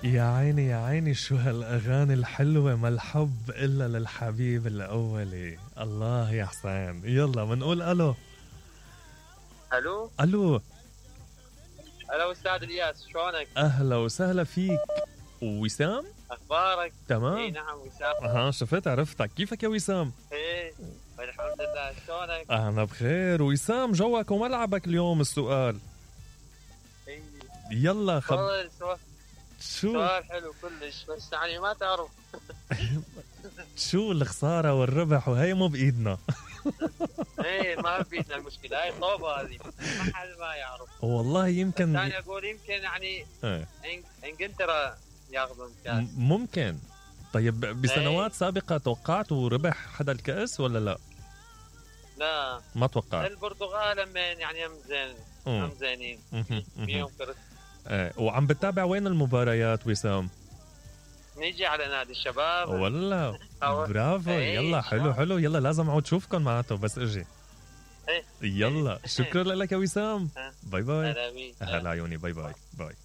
يا عيني يا عيني، شو هالأغاني الحلوة، ما الحب إلا للحبيب الأولي. الله يا حسين، يلا بنقول ألو. الو ألو، الو استاذ الياس، شلونك؟ أهلا وسهلا فيك. وسام؟ اخبارك؟ تمام. اي نعم وسام. شفت عرفتك. كيفك يا وسام؟ ايه الحمد لله، شلونك؟ أنا بخير. وسام، جوك وملعبك اليوم السؤال. ايه يلا شو سؤال حلو كلش، بس يعني ما تعرف. شو الخسارة والربح وهي مو بإيدنا. ايه ما بيدنا المشكلة، هاي طوبة هذه، ما حد ما يعرف. والله يمكن ثاني اقول يمكن يعني ايه. انجلترا ياخذون كاس. ممكن. طيب بسنوات سابقة توقعت وربح حدا الكأس ولا لا؟ لا ما توقعت. البرتغال من يعني هم زينين فيهم كرت. وعم بتابع وين المباريات وسام؟ نيجي على نادي الشباب ولا برافو. يلا حلو يلا لازم اعود شوفكم معناته بس اجي. يلا شكرا لك يا وسام. باي باي. هلا عيوني. باي باي.